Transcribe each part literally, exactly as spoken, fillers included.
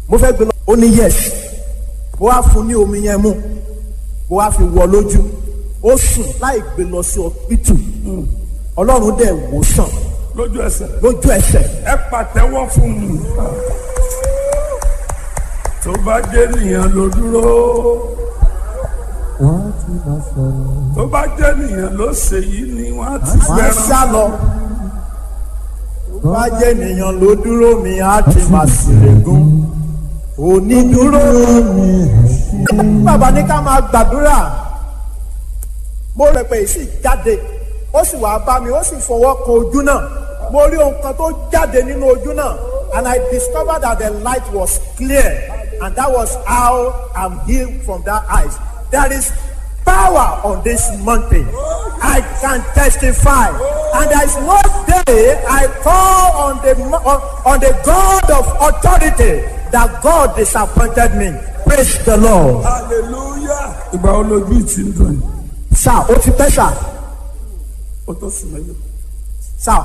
Mo fẹ́ gbé lọ. Ó ní yes. Mo wá fún ní omi yẹn mú, mo wá fi wọ lójú, ó sùn láì gbé lọ sí ọpítù. Ọlọ́run dẹ̀ wò sàn. Lójú ẹsẹ̀. Lójú ẹsẹ̀. Ẹ pàtẹ́wọ́ fún mi. Tó bá jẹ́ nìyẹn ló dúró. Wọ́n ti máa sọ̀rọ̀. Tó bá jẹ́ nìyẹn ló ṣe yìí ni wọ́n á ti Wọ́n á fẹ́ràn. sá lọ. Tó bá jẹ́ ènìyàn ló dúró mi, á ti máa ṣèrègùn. Onídúró mi. Bàbá ní ká máa gbàdúrà. Mo rẹ̀ pé sì jáde, ó sì wá bá mi, ó sì fọwọ́ kan ojú náà. Mo rí ohun kan tó jáde nínú ojú náà, and I discovered that the light was clear, and that was how I'm healed from that eyes. There is power on this mountain. I can testify. And there is no day I call on the mo- on, on the God of authority that God disappointed me. Praise the Lord. Hallelujah. Ìgbà wo lójú ìtì ń dùn yìí? Sir, ó ti pẹ́, sir. Ó tó sùn mẹ́lẹ̀. Sir,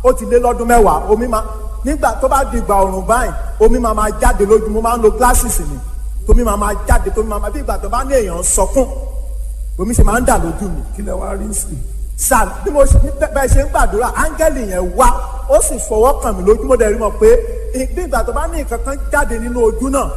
ó ti lé lọ́dún mẹ́wàá. Omi máa, nígbà tó bá di ìgbà ọ̀rùn báyìí, omi máa máa jáde lójú. Mo máa ń lo glasses mi. Tómi máa máa jáde, tómi máa máa bí ìgbà tó bá ní èèyàn ń sọkún. Omi ṣe máa ń dà lójú mi. Kí lẹ wá rí sí? Sir, bí mo ṣe bẹ́ẹ̀ ṣe ń gbàdúrà, áńgẹ́lì yẹn wá, ó sì fọwọ́ kàn mí lójú. Mo dẹ̀ rí mọ̀ pé bí ìgbà tó bá ní nǹkan kan jáde nínú ojú náà.